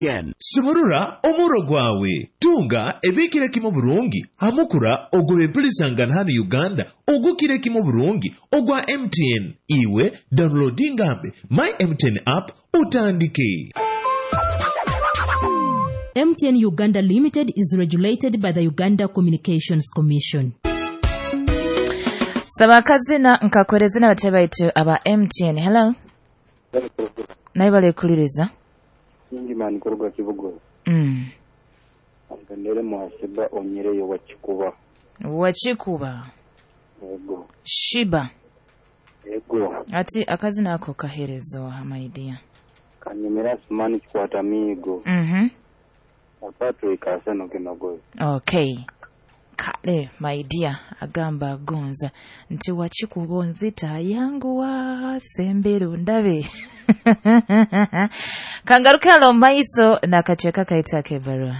MTN. Sumurura omuro gwawe, tunga ebikire kimu burungi hamukura ogw'ebempulisangana hanu Uganda ogukire kimu burungi ogwa MTN. Iwe downloadingambe My MTN app utandike. MTN Uganda Limited is regulated by the Uganda Communications Commission. Saba akazina nkakwereze n'abatebe baitu aba MTN. Hello. Naye balekuliriza. Ingimani kuruga Kibugo. Anganere mwasiba onyereyo wakikuba. Wakikuba. Ego. Shiba. Ego. Ati akazina ako kaherezo my dear. Kanyemera Sumani kikwata miigo. Patrick Aseno Kinogozi. Okay. Kale my dear agamba agonza nti wakikuba onzita yanguwa sembera ndabe. Kangaruke alo maiso nakacheka kaita kebarua.